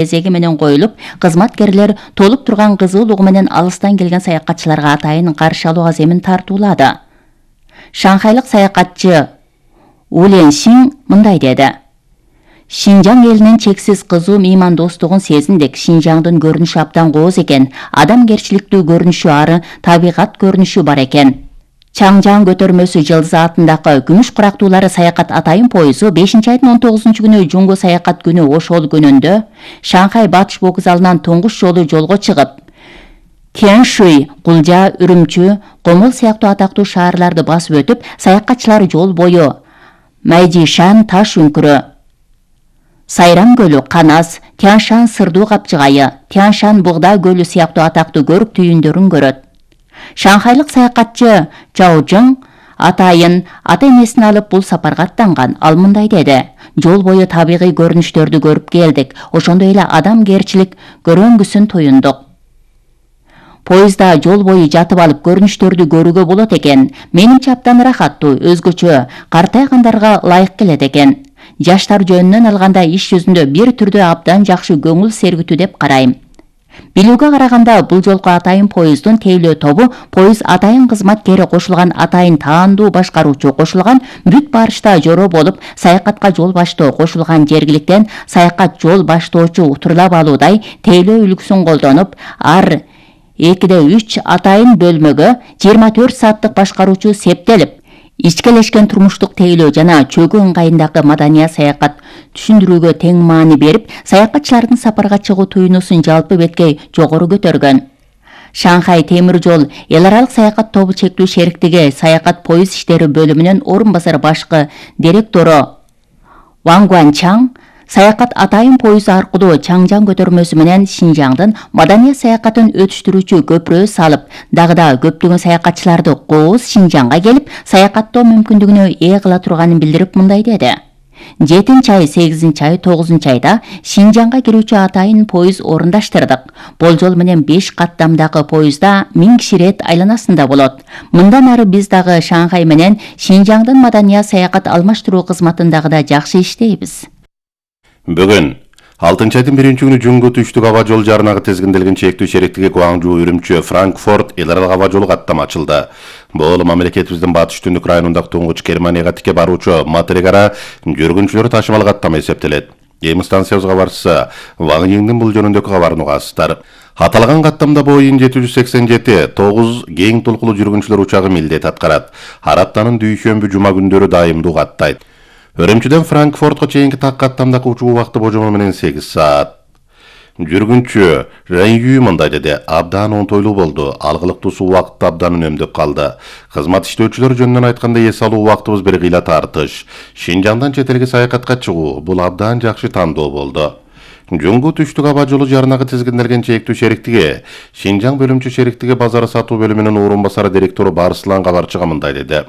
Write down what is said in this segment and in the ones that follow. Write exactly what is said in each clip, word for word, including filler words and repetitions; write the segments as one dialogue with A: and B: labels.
A: кезеги менен коюлуп, кызматкерлер толуп турган кызуулугу менен алыстан келген саякатчыларга атайын каршы алууга земин тартуулады. Шанхайлык саякатчы Улен Син мындай деди: Шинжаң элинин чексиз кызуу меймандостугун сезиндик. Шинжаңдын көрүнүшү абдан кооз экен. Адамгерчиликтүү көрүнүшү, ары табигат көрүнүшү бар экен. Чаңжаң көтөрмөсү жылдыз атындагы күмүш курактуулары саякат атайын поезу бешинчи айдын он тогузунчу күнү Жунго саякат күнү ошол күнүндө Шанхай батыш вокзалынан туңгуч жолу жолго чыгып, Тяньшуй, Кулжа, Үрүмчү, Комол сыяктуу атактуу шаарларды басып өтүп, саякатчылар жол бою Майжишан таш үңкүрү, Сайрам көлү, Канас, Тяньшан сырдуу капчыгайы, Тяньшан бугда көлү сыяктуу атактуу көрүк түйүндөрүн көрөт. Шанхайлык саякатчы Чаожың атайын ата-энесин алып бул сапарга аттанган. Ал мындай деди: жол бою табигый көрүнүштөрдү көрүп келдик. Ошондой эле адамгерчилик көрөңгүсүн туюндук. Поезда жол бою жатып алып көрүнүштөрдү көрүүгө болот экен. Менимче абдан ырахаттуу, өзгөчө, картайгандарга ылайык келет экен. Жаштар жөнүнөн алганда иш жүзүндө бир түрдө абдан жакшы көңүл сергитүү деп карайм. Билүүгө караганда бул жолку атайын поезддун тейлөө тобу поезд атайын кызматкери кошулган атайын таандуу башкаруучу кошулган бүт барышта жоро болуп, саякатка жол баштоо кошулган жергиликтен саякат жол баштоочу утурлап алуудай тейлөө үлгүсүн колдонуп, ар экиде үч атайын бөлмөгө жыйырма төрт сааттык башкаруучу септелип, ичкелешкен турмуштук тейлөө жана чөгүү ыңгайындагы маданий саякат түшүндүрүүгө тең маани берип, саякатчылардын сапарга чыгуу туюнусун жалпы беткей жогору көтөргөн. Шанхай темир жол эл аралык саякат тобу чектүү шериктиги саякат поезд иштери бөлүмүнүн орун басар башкы директору Ван Гуанчаң саякат атайын поезду аркылуу Чаңжаң көтөрмөсү менен Шинжаңдын маданий саякатын өтүштүрүүчү көпүрө салып, дагы да көптөгөн саякатчыларды кооз Шинжаңга келип, саякаттоо мүмкүндүгүнө ээ кыла турганын билдирип мындай деди: жетинчи ай, сегизинчи ай, тогузунчу айда Шинжаңга кирүүчү атайын поезд орундаштырдык. Болжол менен беш каттамдагы поездда миң киши рет айланасында болот. Мындан ары биз дагы Шанхай менен Шинжаңдын маданий саякат алмаштыруу кызматындагы да жакшы иштейбиз.
B: Бүгүн алтынчы айдын биринчи күнү Жунго түштүк аба жол жаранагы тизгинделген чектүү шериктиги Гуаңжу, Үрүмчү, Франкфурт эл аралык аба жолу каттам ачылды. Бул мамлекетибиздин батыш түндүк районундагы туңгуч Германияга тике баруучу материк ара жүргүнчүлөр ташымал каттама эсептелет. Эми станциябызга кабарчысы Ван Йиңдин бул жөнүндөгү кабарын угасыздар. Аталган каттамда Боeing жети жүз сексен жети тогуз кең толкулуу жүргүнчүлөр учагы милдет аткарат. Ар аптанын дүйшөмбү жума күндөрү дайымдуу каттайт. Үрүмчүдөн Франкфуртко чейинки так каттамдагы учуу убакыты божомол менен сегиз саат. Жүргүнчү Ренью мындай деди: абдан онтойлуу болду. Алгылыктуусу убакытты абдан үнөмдөп калды. Кызмат иштөөчүлөр жөнүнөн айтканда эс алуу убактыбыз бир кыйла тартыш. Шинжаңдан чет элге саякатка чыгуу бул абдан жакшы тандоо болду. Жунго түштүк аба жолу жаранагы тизгинделген чектүү шериктиги Шинжаң бөлүмчү шериктиги базар сатуу бөлүмүнүн орун басары директору Барслан кабарчыга мындай деди: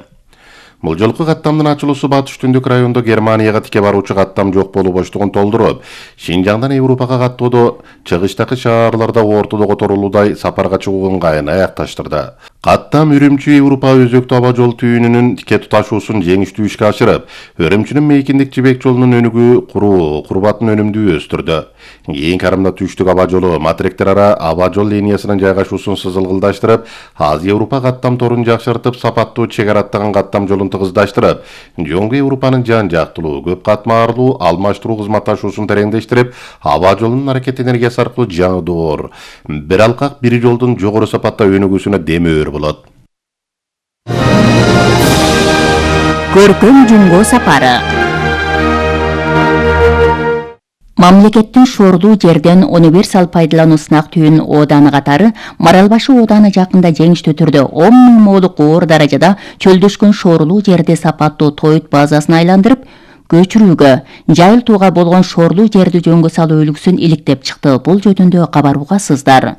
B: Бул жолку каттамдын ачылуусу батыш түндүк райондо Германияга тике баруучу каттам жок болуу боштугун толтуруп, Шинжаңдан Европага каттоодо чыгыштагы шаарларда ортодо которулуудай сапарга чыгуу ыңгайын аякташтырды. Каттам Үрүмчү Европа өзөктүү аба жол түйүнүнүн тике туташуусун жеңиштүү ишке ашырып, Үрүмчүнүн мейкиндик жибек жолунун өнүгүү куруу, курбатын өнүмдүү өстүрдү. Кийин карымда түштүк аба жолу материктер ара аба жол линиясынын жайгашуусун сызылгылдаштырып, Азия Европа каттам торун жакшыртып, сапаттуу чек араттаган каттам жолун тыгыздаштырып, Жонго Европанын жан жактылуу, көп катмарлуу алмаштыруу кызматташуусун тереңдештирип, аба жолунун аракет энергиясы аркылуу жаңы доор, бир алкак бир жолдун жогору сапатта өнүгүүсүнө демөөр болот.
A: Көркөм Жунго сапары. Мамлекеттин шорлуу жерден универсал пайдалануу сынак түйүн ооданы катары Маралбашы ооданы жакында жеңиштүү түрдө он миң молук оор даражада чөлдөшкөн шорлуу жерди сапаттуу тоют базасына айландырып, көчүрүүгө, жайылтууга болгон шорлуу жерди жөнгө салуу үлгүсүн иликтеп чыкты. Бул жөнүндө кабар угасыздар.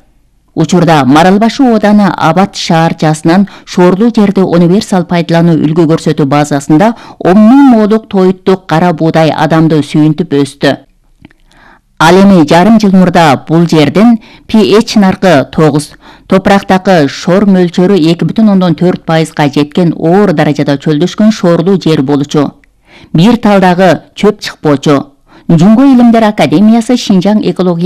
A: Учурда Маралбашы ооданы Абат шаарчасынын шорлуу жерди универсал пайдалануу үлгү көрсөтүү базасында он миң молук тоюттук кара буудай адамды сүйүнтүп өстү. Ал эми жарым жыл мурда бул жердин pH наркы тогуз, топурактагы шор мөлчөрү эки бүтүн ондон төрт пайызга жеткен оор даражада чөлдөшкөн шорлуу жер болчу. Бир талдагы чөп чыкпочу. Жунго илимдер академиясы Шинжаң экология